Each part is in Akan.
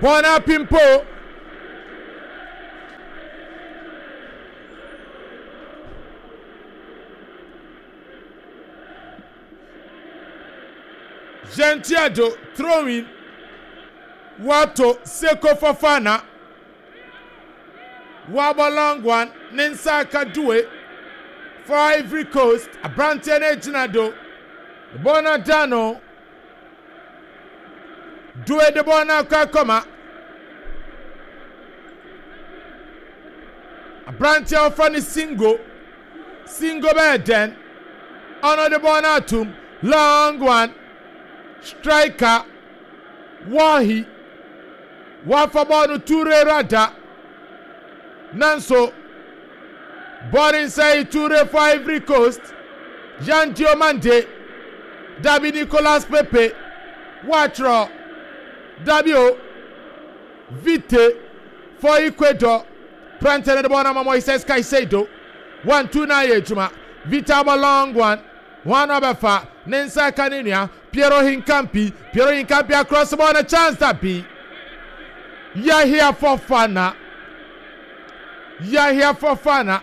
Bɔɔl no apimpo. Gentiado throwing wato Seko Fofana wabɔ long one ne nsa aka Due for Ivory Coast aberanteɛ no agyina do bɔɔl no ada no Due de bɔɔl no akɔ akɔma aberanteɛ a wɔfrɛ no Singo. Singo bɛyɛ dɛn? Ɔno de bɔɔl no atom. Long one. Striker. Wahi. Wafa bɔɔl no Toure Rada. Nanso bɔɔl no nsɛe Toure for Ivory Coast. Yan Diomande. Dabi Nicolas Pepe. Watwerɛ. Dabi o. Vite for Ecuador. Prante no de bɔɔl no ama Moises Caicedo. 1, 2 na ayɛ adwuma. Vite abɔ long one. Hwan na ɔbɛfa? Ne nsa ka ne nua Piero Hincampi. Piero Hincampi across bɔɔl no chance dabi. Yahia Fofana. Yahia Fofana.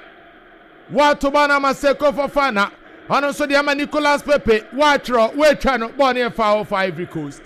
Wato bɔɔl no ama Seko Fofana. Ɔno nso de ama Nicolas Pepe. Watwerɛ, watwa no. Bɔɔl no yɛ foul for Ivory Coast.